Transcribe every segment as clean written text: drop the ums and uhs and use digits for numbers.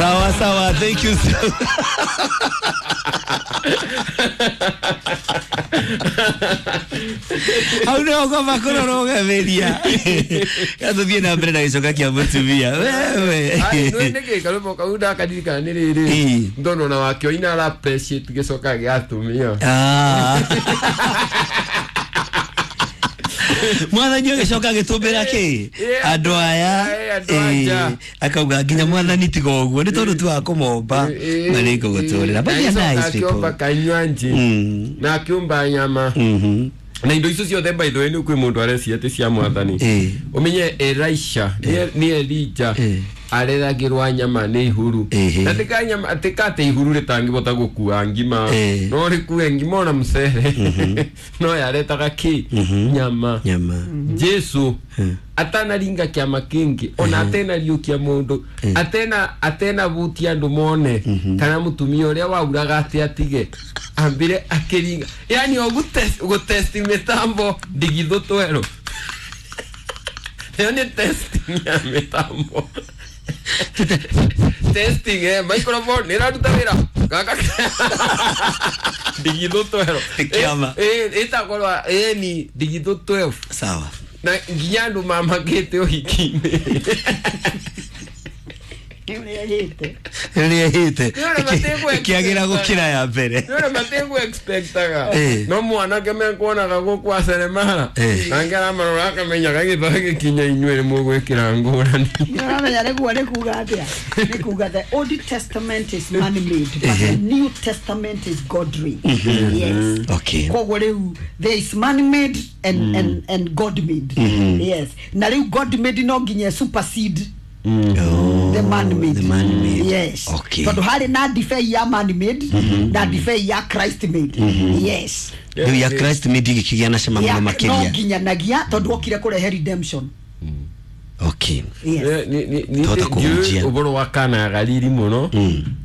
Sawa sawa, thank you so. Hau no kwamba kũrorũgamĩria gatũthiĩ na mbere na gĩcoka kĩa mũtumia wewe. Ai, no nĩkĩ karũmbo kau ndakaririkana nĩ rĩrĩ Ĩĩ. ndona ona wakĩo ina ara appreciate gĩcoka gĩa atumia. Ah. Mwathani ũgĩcoka agĩtũmbĩra kĩ Yeah. andũ aya. Eh, andũ a nja. Eh, akauga nginya mwathani tiga ũguo nĩ tondũ tu wa kũmomba na nĩ ngũgũtũrĩra, but they are nice akĩomba people. kanywanji na akĩũmba nyama na indo icio ciothe, by the way, nĩ kwĩ mũndũ arecia atĩ cia mwathani. Ũmenye Elisha nĩ Elija areragĩrwa nyama nĩ ihuru. Na tika nyama tika atĩ ihuru rĩtangĩbota gũkua ngima, no rĩkue ngima ona mũcere, no yaretaga kĩ? Nyama. Nyama. Jesu atanaringa kĩama kĩngĩ ona atenariũkia mũndũ, atena butia andũ mone kana mũtumia ũrĩa wauraga atĩ atige ambire akĩringa, yani o gũtesti mĩtambo ndigithũ twerũ. Ĩyo nĩ testing ya mĩtambo, testing microphone nĩ ĩraruta wĩra gaka ndigithũ twerũ. Kĩama. Ĩtagwo ni ndigithũ 12. Sawa. Na nginya andũ mamakĩte ũhiki-inĩ. Rĩrĩa hĩte Nĩ ũrĩa ĩkĩagĩra gũkĩra ya mbere. Nĩ mategũ expectaga no mwanake mekuonaga gũkũ aceremara nangĩ aramarora akamenya gagĩtho gĩkinya inyuĩ nĩ mũgwĩkĩra ngũrani. Ũramenya nĩguo nĩ kuga atĩa? Nĩ kuga the Old Testament is man made but the New Testament is godly. Yes. Koguo rĩu there is man made and God made. Yes. Na rĩu God made no nginya supersede Oh, the man made. The man made. Yes. Tondũ harĩ na ndibei ya man made na ndibei ya Christ made. Yes. Rĩu ya Christ made ĩgĩkĩgĩa na cama mũno No makĩria. nginyanagia tondũ okire kũrehe redemption. Yes. Twahota kũhunjia. Ũboro wa Kana ya Galili mũno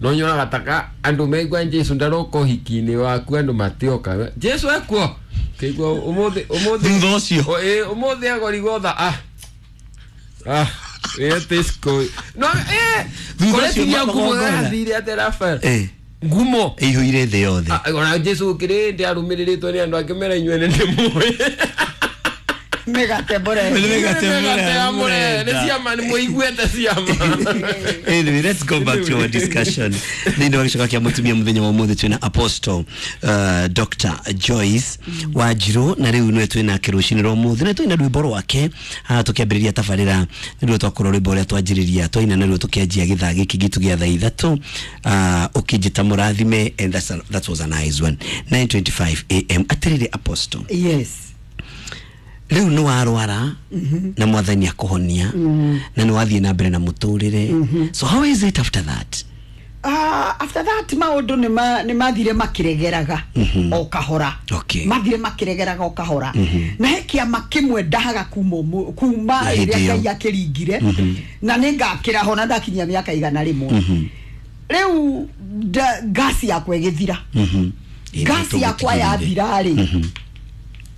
no nyonaga taka andũ maigua Jesu ndaroka ũhiki-inĩ waku, andũ matioka Jesu ekuo kĩigua ũmũthĩ ũmũthĩ. Thutha ũcio. O, ĩ, ũmũthĩ agorigwo tha ĩ Tesco no Thutha ũcio kũretiria ngumo magongona. yathire atĩ Rafael ngumo ĩihũire thĩ yothe. Ah, ona Jesu kĩrĩ ndĩ arũmĩrĩrĩtwo nĩ andũ angĩ mera inyuĩ nĩ ndĩmũĩ. Mĩgate mũrehe. Mĩgate. Mĩgate ya mũrehe nĩ ciama, nĩ mũiguĩte ciama. Anyway, let's go back to our discussion. Thĩinĩ wa gĩcoka kĩa mũtumia mũthenya wa ũmũthĩ twĩna Apostle Dr. Joyce Wanjirũ na rĩu nĩwe twĩnake rũcinĩ rwa ũmũthĩ na twĩna rwĩmbo rwake haha tũkĩambĩrĩria tabarĩra nĩruo twakorwo rwĩmbo rũrĩa twanjĩrĩria twaina naruo tũkĩanjia gĩthaa gĩkĩ gitũ gĩa thaa 3, ũkĩnjĩta mũrathime, and that was a nice one. 9:25 a.m. Atĩrĩrĩ Apostle, Yes. rĩu nĩ warwara na mwathani akũhonia na nĩ wathiĩ na mbere na mũtũrĩre, so how is it after that? After that maũndũ nĩ mathire makĩregeraga o kahora. Mathire makĩregeraga o kahora na he kĩama kĩmwe ndahaga kuma Hĩndĩ rĩrĩa ĩyo. Ngai akĩringire na nĩ ngakĩra ho na ndakinyia mĩaka 100. Rĩu ngasi yakwa ĩgĩthira. Ngasi yakwa yathira rĩ,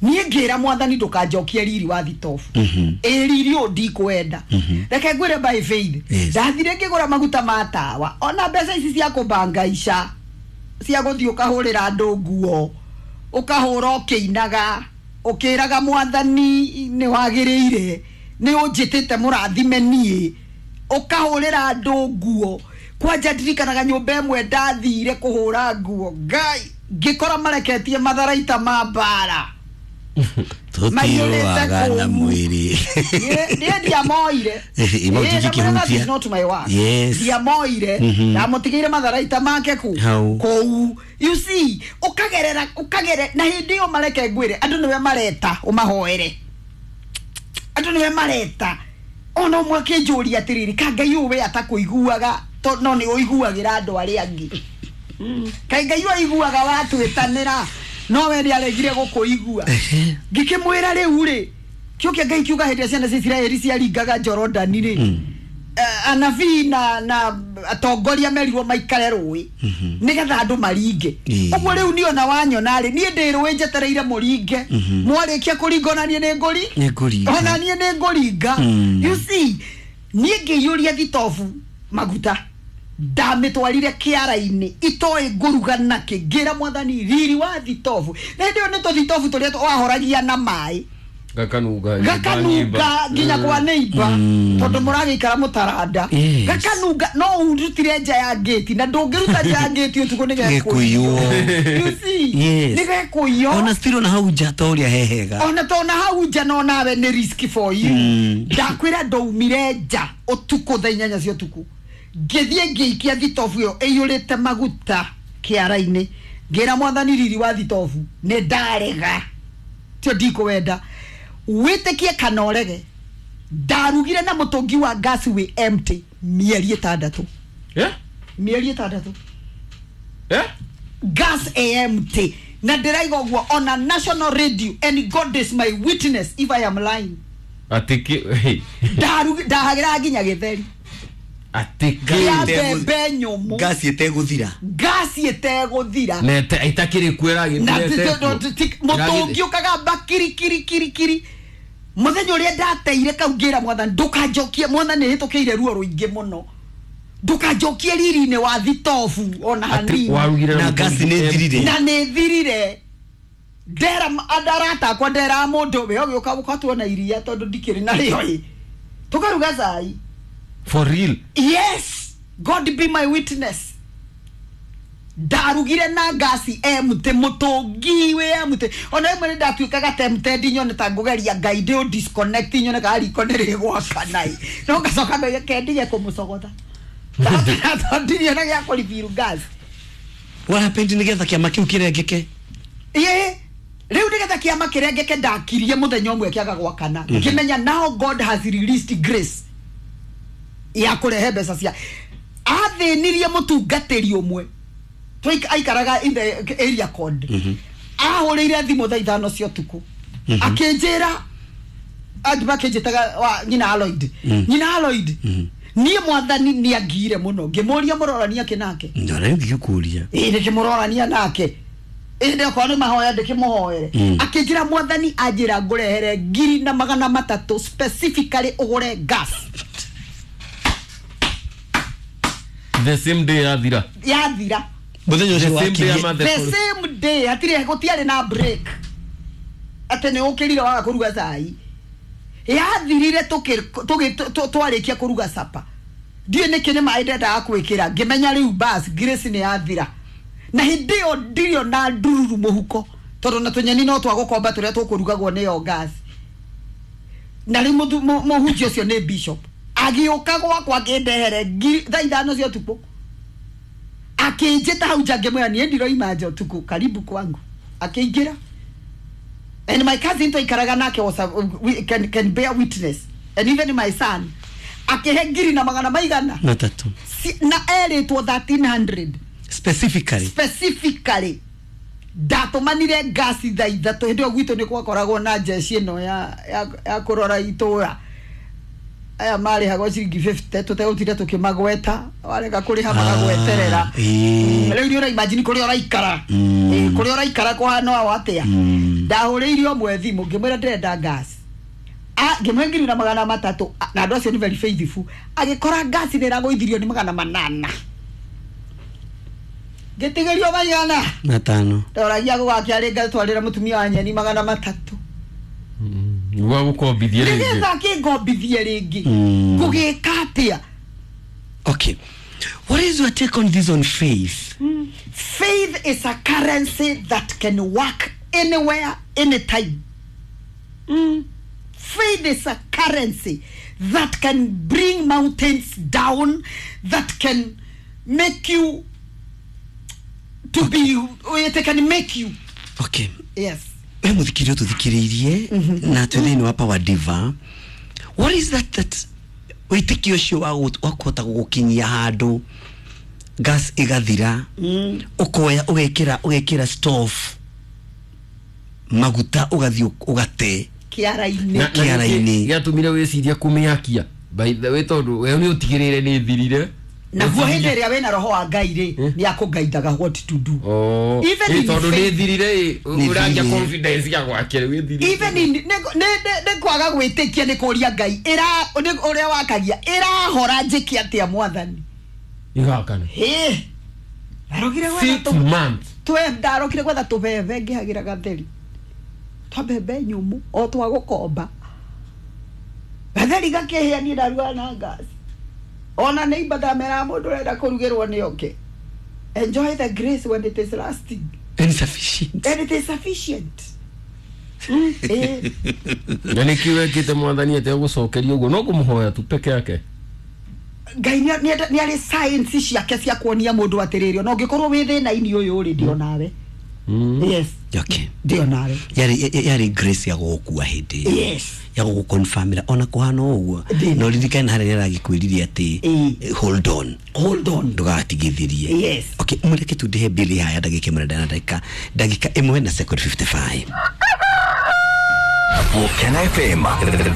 niĩ ngĩra mwathani ndũkanjokie riri wa thitobu ĩ riri ũyũ ndikwenda, reke ngwĩre by faith. Ndathire ngĩgũra maguta ma tawa ona mbeca ici cia kũbangaica cia gũthiĩ ũkahũrĩra andũ nguo ũkahũra ũkĩinaga ũkĩraga mwathani nĩ wagĩrĩire nĩ ũnjĩtĩte mũrathime niĩ ũkahũrĩra andũ nguo. Kwanja ndirikanaga nyũmba ĩmwe ndathire kũhũra nguo, Ngai, ngĩkora mareketie matharaita ma mbara Tũtiũaga na mwĩrĩ. Niĩ ndiamoire. Ima ũtingĩkĩhutia. That is not my work. Ndiamoire, ndamũtigĩire matharaita make ku Hau. kũu. You see, ũkagerera ũkagere na hĩndĩ ĩyo mareke ngwĩre andũ nĩwe mareta ũmahoere, andũ nĩwe mareta ona ũmwe akĩnjũria atĩrĩrĩ, ka Ngai ũyũ we atakũiguaga no nĩ ũiguagĩra andũ arĩa angĩ, kaĩ Ngai ũyũ aiguaga watwĩtanĩra no we nĩ aregire gũkũigua? Ngĩkĩmwĩra rĩu rĩ kĩo kĩa Ngai kiuga hĩndĩ ĩrĩa ciana cia Isiraeli ciaringaga Jorodani rĩ, anabii na atongoria merirwo maikare rũĩ nĩgetha andũ maringe. Ũguo rĩu niĩ ona wanyona rĩ, niĩ ndĩ rũĩ njetereire mũringe, mwarĩkia kũringa ona niĩ nĩ ngũri Nĩ ngũringa. Ona niĩ nĩ ngũringa. You see, niĩ ngĩiyũria thitobu maguta. Ndamitwarire kiara-inĩ itoĩ ngũruga nakĩ, ngĩra mwathani riri wa thitobu. Na hĩndĩ ĩyo nĩ tũthitobu tũrĩa wahoragia na maĩ gakanunga gakanunga nginya kwa neighbor tondũ mũragĩikara mũtaranda. Yes. Gakanunga no ũrutire nja ya ngĩti, na ndũngĩruta nja ya ngĩti ũtukũ nĩ Gĩkũiywo. You see? Yes. Nĩ gekũiywo. Ona still na hau nja ta ũrĩa hehega. Ona tona hau nja no nawe nĩ risk for you. Ndakwĩra ndaumire nja ũtukũ thaa 8 cia ũtukũ, ngĩthiĩ ngĩikia thitobu ĩyo ĩiyũrĩte maguta kĩara-inĩ, ngĩra mwathani riri wa thitobu nĩ ndarega, tio ndikũwenda, wĩtĩkie kana ũrege. Ndarugire na mũtũngi wa gas wĩ empty mĩeri 6. Mĩeri 6 gas empty, na ndĩraiga ũguo ona national radio, and God is my witness if I am lying. Atiki Ndahagĩra nginya gĩtheri atiki ya mbembe nyũmũ, Gasi ĩtegũthira. Gasi ĩtegũthira. Na itakiri kwera Na mũtũngi ũkagamba kiri kiri kiri kiri. Mũthenya ũrĩa ndateire kau ngĩra mwathani ndũkanjokie, mwathani nĩhĩtũkĩire ruo rũingĩ mũno, ndũkanjokie riri-inĩ wa thitobu ona hanini. Warugire Na gasi nĩ thirire. Na nĩ thirire. Ndera arata akwa, ndera mũndũ we ũgĩũka ũkatuona iria tondũ ndikĩrĩ narĩo ĩ, tũkaruga cai. For real? Yes, God be my witness. Ndarugire na gasi empty, mũtũngi wĩ empty. Ona rĩmwe nĩ ndatuĩkaga tempted nyone ta ngũgeria Ngai ndĩ disconnect nyone kana riko nĩ rĩgwakana ĩ, no ngacoka ngauga kendige kũmũcogotha tondũ ndirĩ ona gĩa kũribiru gas. What happened nĩgetha kĩama kĩu kĩrengeke? Ĩĩ, rĩu nĩgetha kĩama kĩrengeke ndakirie mũthenya ũmwe kĩaga gwakana, ngĩmenya now God has released grace ya kũrehe mbeca cia athĩnirie mũtungatĩri ũmwe aikaraga in the area code. Ahũrĩire thimũ thaa 5 cia ũtukũ akĩnjĩra, andũ makĩnjĩtaga nyina Aloid, nyina Aloid, niĩ mwathani nĩ angiire mũno. Ngĩmũria mũrorania kĩ nake. Ndara ngĩkũria. Ĩĩ, ndĩkĩmũrorania nake ĩndĩ okorwo nĩ mahoya ndĩkĩmũhoere. Akĩnjĩra mwathani anjĩra ngũrehere 1,300 specifically ũgũre gas. The same day yathira. Yathira. Mũthenya ũcio wakirie. The same day, hatirĩ gũtiarĩ na break atĩ nĩ ũkĩrire waga kũruga cai. Yathirire twarĩkia kũruga sapa, ndiũĩ nĩkĩ nĩ maĩ ndendaga kwĩkĩra, ngĩmenya rĩu bas grace nĩ yathira. Na hĩndĩ ĩyo ndirĩ ona ndururu mũhuko, tondũ na tũnyeni no twagũkomba tũrĩa tũkũrugagwo nĩyo gas. Na rĩu mũhunjia ũcio nĩ bishop, agĩũka gwakwa akĩndehere thaa 5 cia ũtukũ, akĩnjĩta hau nja, ngĩmwĩra niĩ ndiroima nja ũtukũ, karibu kwangu. Akĩingĩra, and my cousin twaikaraga nake was can bear witness, and even my son, akĩhe 1,300 na erĩtwo 1300 specifically. Ndatũmanire ngasi thaa 3 hĩndĩ ĩyo gwitũ nĩ gwakoragwo na jeshi ĩno ya kũrora itũra, aya marĩhagwo ciringi 50 tũtegũtinda tũkĩmagweta, warega kũrĩha magagweterera. Rĩu nĩ ũraimagine kũrĩa ũraikara, kũrĩa ũraikara kũhana o atĩa. Ndahũrĩire ũmwe thimũ ngĩmwĩra ndĩrenda gas, ngĩmũhe 1,300, na andũ acio nĩ very faithful. Agĩkora gas nĩ ĩragũithirio nĩ 800, ngĩtigĩrio 500. Ndoragia gũgakĩarĩ ngatwarĩra mũtumia wa nyeni 300 gwa gũkombithie rĩngĩ, nĩgetha akĩngombithie rĩngĩ. Ngũgĩka atĩa? Okay, what is your take on this on faith? Faith is a currency that can work anywhere, anytime. Faith is a currency that can bring mountains down, that can make you to be, it can make you. Okay. Yes. We muthikiri tuthikiriirie na twĩ thĩinĩ wa Power Diva. What is that wĩtĩkio ũcio wa kũhota gũgũkinyia handũ gas ĩgathira, ũkoya ũgekĩra stove maguta ũgathiĩ ũgate kĩara-inĩ. Kĩara-inĩ. Gĩatũmire wĩcirie kũmĩakia by the way, tondũ we nĩ ũtigĩrĩire nĩ thirire. Naguo hĩndĩ ĩrĩa wĩna roho wa Ngai rĩ, nĩ akũgaithaga what to do. Even tondũ nĩ thirire ũragia confidence ya gwake wĩthirire. Even in nĩ kwaga gwĩtĩkia nĩ kũria Ngai ũrĩa wakagia ĩrahora njĩke atĩa mwathani. Igakana. Hĩ, ndarokire gwetha 6 months. Ndarokire gwetha tũbebe ngĩhagĩra gatheri twa mbembe nyũmũ o twa gũkomba gatheri gakĩhĩa niĩ ndarugaga na gas ona nĩ imba ndameraga mũndũ ũrenda kũrugĩrwo nĩ oke. Enjoy the grace when it is lasting Insufficient. and it is sufficient. Na nä kä wekite mwathani atä gå å guo no kå må hoya tu peke yake. Ngai nĩ arĩ science ciake cia kuonia mũndũ atĩrĩrĩ ona ũngĩkorwo wĩ thĩna-inĩ ũyũ rĩ ndio nawe. Yes. Okay. Ndio nawe. Yarĩ grace ya gũgũkua hĩndĩ ĩyo. Yes. Ya gũgũconfirmĩra ona kũhana o ũguo. Ndĩ. Na ũririkane harĩa nĩaragĩkwĩrire atĩ hold on. Hold on. Ndũgatigithĩrie. Yes. Okay, mũreke tu ndĩhe mbili haya ndagĩka ĩmwe na ndagĩka ĩmwe na second 55. Volcano FM.